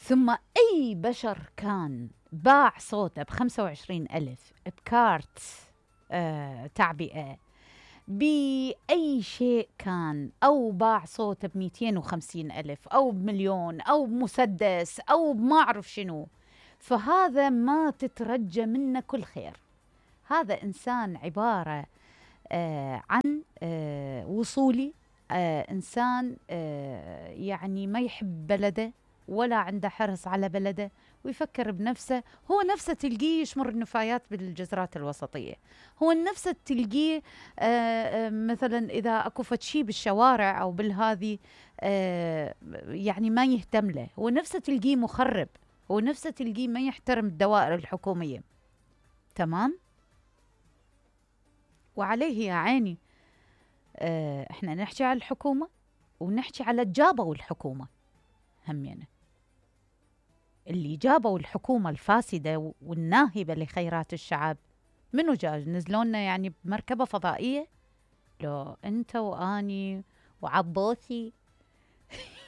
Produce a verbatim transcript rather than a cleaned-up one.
ثم أي بشر كان باع صوته بخمسة وعشرين ألف بكارت آه تعبئة بأي شيء كان، أو باع صوته بمئتين وخمسين ألف أو بمليون أو بمسدس أو ما أعرف شنو، فهذا ما تترجى منه كل خير. هذا إنسان عبارة آه عن آه وصولي، آه إنسان آه يعني ما يحب بلده ولا عنده حرص على بلده ويفكر بنفسه. هو نفسه تلقيه يشمر النفايات بالجزرات الوسطية، هو نفسه تلقيه آه آه مثلا إذا أكو فتشي بالشوارع أو بالهذي آه يعني ما يهتم له، هو نفسه تلقيه مخرب، هو نفسه تلقيه ما يحترم الدوائر الحكومية. تمام. وعليه يا عيني آه احنا نحكي على الحكومة ونحكي على الجابوا الحكومة همينة، اللي جابوا الحكومة الفاسدة والناهبة لخيرات الشعب. منو جاج نزلونا يعني بمركبة فضائية؟ لو انت واني وعبوسي